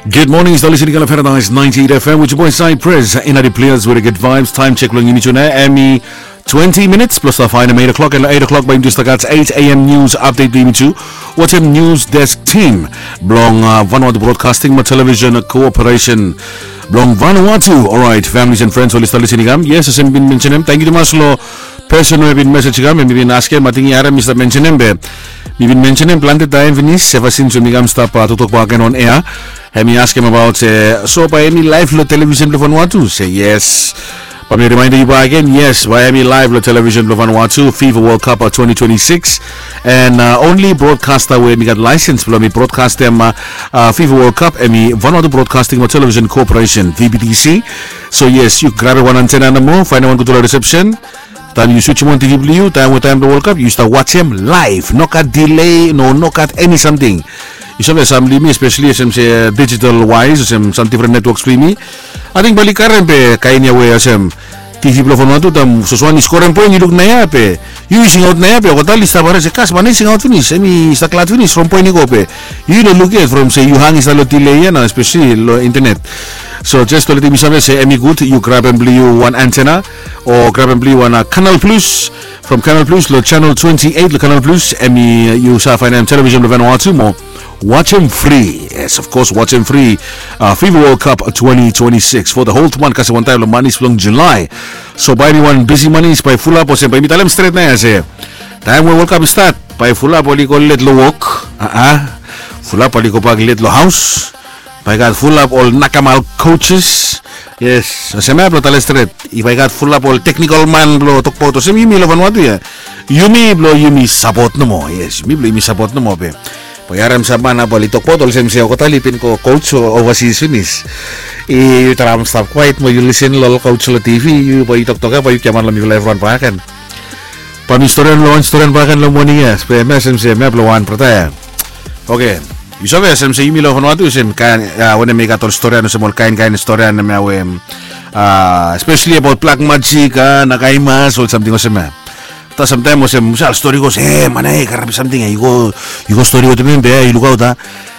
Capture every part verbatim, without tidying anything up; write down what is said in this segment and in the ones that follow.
Good morning, stap listening long Paradise ninety-eight F M with your boy Cypress. Inadi players with a good vibes. Time check long yumi tu nao. Hemi twenty minutes plus the fine eight o'clock and eight o'clock by just like eight a.m. news update by yumi tu. Watem news desk team blong uh, Vanuatu Broadcasting ma Television Corporation blong Vanuatu. Alright, families and friends, oli stap listening am. Yes, as mi bin mentionem, thank you tumas lo person we bin message kam, hemi bin askem, ating i harem mi stap mentionem be mi bin mentionem planti taem finis ever since we mi kam stap uh, toktok bak agen on air. Hemi askem abaot se so bae hemi live lo television blo Vanuatu? Se yes. Bae mi remind yu bak agen, yes, bae hemi live lo television blo Vanuatu, FIFA World Cup uh, twenty twenty-six. And uh, only broadcaster we mi gat license blo mi broadcastem uh, uh, FIFA World Cup hemi Vanuatu Broadcasting ma Television Corporation, V B T C. So yes, yu grabem wan antenna nomo, faenem wan gudfala reception. Taem yu switch wan T V blo yu, taem we taem blo World Cup, yu stap wajem live. No gat delay, no, no gat eni samting. Yu save sam lo yumi, especially olsem se digital wise, olsem sam different networks blo yumi. Ating bae oli karem be kaen ia we olsem T V blo Vanuatu, taem soswan i skorem poen, yu luk naoia be yu singaot naoia be olgeta oli stap harim se kas, man i singaot finis, hemi stap glad finis from poen i go be yu no luk yet from se yu hang i stap lo delay ia nao, especially lo internet. So just to let yumi save se hemi gud yu grabem blo yu wan antenna o grabem blo yu wan uh, Canal Plus. From Canal Plus lo channel twenty-eight lo Canal Plus, hemi uh, yu save faenem television blo Vanuatu mo wajem free. Yes, of course, wajem free uh, FIFA World Cup twenty twenty-six for the whole month, kasem wan taem lo manis blong July. So bae hemi wan bisi manis, bae fulap, olsem bae mi talem stret naoia se taem we World Cup i stat, bae fulap oli go let lo wok. A-a. Fulap oli gobak let lo haos. Bae i gat fulap ol nakamal coaches. Yes, olsem ia blo talem stret, i bae i gat fulap ol technical man blo tokbaot olsem yumi lo Vanuatu ia. Yumi blo yumi sapot nomo. Yes, yumi blo yumi sapot nomo be bae yu harem sam man nao bae oli tokbaot olsem se olgeta oli bin go coach o overseas finis. Yu traem stap kwaet mo yu lisen lo ol coach lo T V, yu bae yu toktok ia bae yu giaman lo mifala evriwan bak agen. Bae mi storian lo wan storian bak agen lo moning ia, be hemia olsem se hemia blo wan brata ia. Oke. Yu save olsem se yumi lo Vanuatu olsem kaen ia, wanem i gat ol storian, olsem ol kaenkaen storian hemia we um, uh, especially abaot black magic, uh, nakaimas, ol samting olsem ia. Afta samtaem olsem sal stori go se, e, man ia i karem samting ia, yu go, yu go stori wetem hem be ia, yu lukaot a.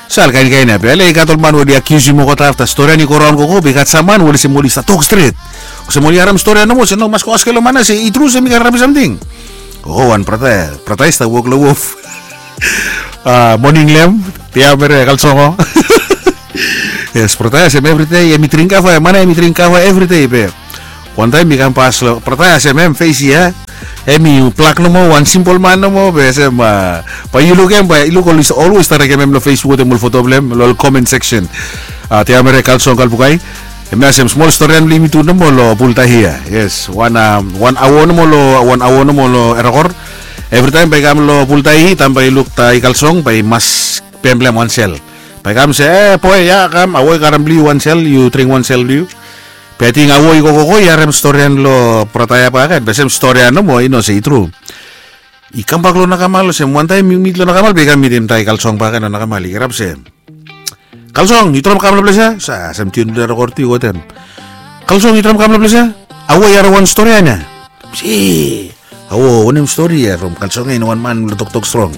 Sal kaenkaen ia be ale i gat ol man we oli akiusim olgeta, afta storian i go raon gogo be i gat sam man we olsem oli stap tok stret. Olsem oli harem storian nomo se no, mas go askem lo man ia se i tru se hemi karem samting. Gogo wan brata ia, brata ia i stap wok lo wof. A, moning lem, tea mere kalsongo. Yes, brata ia olsem evridei hemi dring kava, man ia hemi dring kava evridei be wan taem mi kam pas lo brata ia olsem hem fes ia, hemi blak nomo, wan simpol man nomo be olsem, a, bae yu lukem, bae yu luk oli olwes taregem hem lo Facebook wetem ol foto blo hem lo ol comment section. A, tea mere kalsong kalbukai. Hemia olsem smol storian blo yumi tu nomo lo Bultahi ia. Yes, wan, a, wan aoa nomo lo, wan aoa nomo lo Erakor. Evritaem bae i kam lo Bultahi, taem bae i luk Taikalsong bae i mas pemblem wan sel. Bae i kam se, e boe, ia kam, aoa i karem blo yu wan sel, yu dring wan sel blo yu. Be ating aoa i gogogo i harem storian lo brata ia bak agen, be olsem storian nomo, i no se i tru. I kambak lo nakamal, olsem wan taem i mit lo nakamal be i kam mitim Taikalsong bak agen lo nakamal, i kirap se, Kalsong, yu traem kam lo ples ia? Sa, olsem tiun blo Erakor tu i go wetem. Kalsong, yu traem kam lo ples ia? Aoa i harem wan storian ia. Se, aoa, wanem stori ia? From Kalsong ia i no wan man blo toktok strong.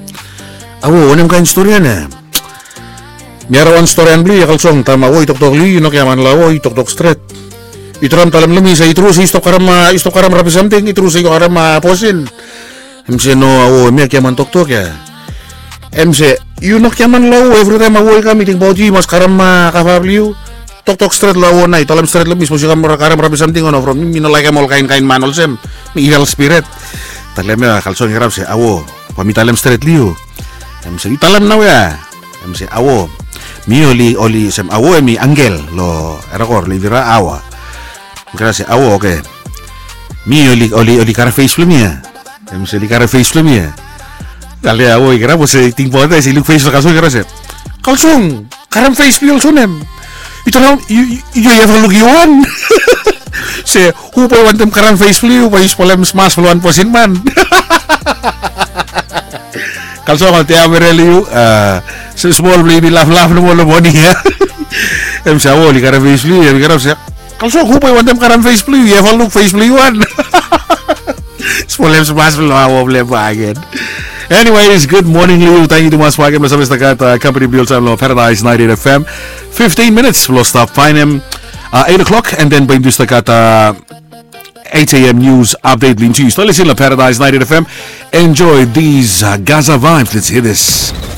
Aoa, wanem kaen storian ia? Mi harem wan storian blo yu ia Kalsong, taem aoa i toktok lo yu, yu no giaman lo aoa, yu toktok stret. Yu traem talem lo mi se i tru se yu stap karem, a, yu stap karem rabis samting, i tru se yu karem, a, abortion. Hem se no aoa, hemia giaman toktok ia. Hem se yu no giaman lo aoa, evritaem aoa i kam i tingbaot yu i mas karem, a, kava blo yu. Toktok stret lo aoa nao, yu talem stret lo mi sapos yu kam karem rabis samting o no, from mi, mi no laekem ol kaenkaen man olsem. Mi evil spirit. Talem ia Kalsong i kirap se, aoa, bae mi talem stret lo yu. Hem se yu talem naoia. Hem se aoa, mi oli, oli olsem aoa hemi angel lo Erakor, lo Ivira aoa. Mi kirap se aoa, oke. Mi oli, oli, oli karem fes blo mi ia. Hem se oli karem fes blo mi ia. Ale aoa i kirap olsem i tingbaot ia se i luk fes blo Kalsong i kirap se, Kalsong, karem fes blo yu olsem wanem? Yu traem, yu, yu, yu eva luk yu wan? Se hu bae i wantem karem fes blo yu, bae yu spolem smas blo wan bosin man? Kalsong, ol tea mere lo yu, a, olsem smol blo yumi laflaf nomo lo moning ia. Hem se aoa oli karem fes blo yu, hem i kirap se, Kalsong, hu bae i wantem karem fes blo yu, yu eva luk fes blo yu wan? Spolem smas blo aoa blo hem bak agen. Anyways, good morning, Liu. Thank you too much for having us. Company Bill time lo Paradise ninety-eight F M. Fifteen minutes lo stop find him. Uh, eight o'clock, and then by Dustaka eight a.m. news update. Lin Tuesday, listen to Paradise ninety-eight F M. Enjoy these uh, Gaza vibes. Let's hear this.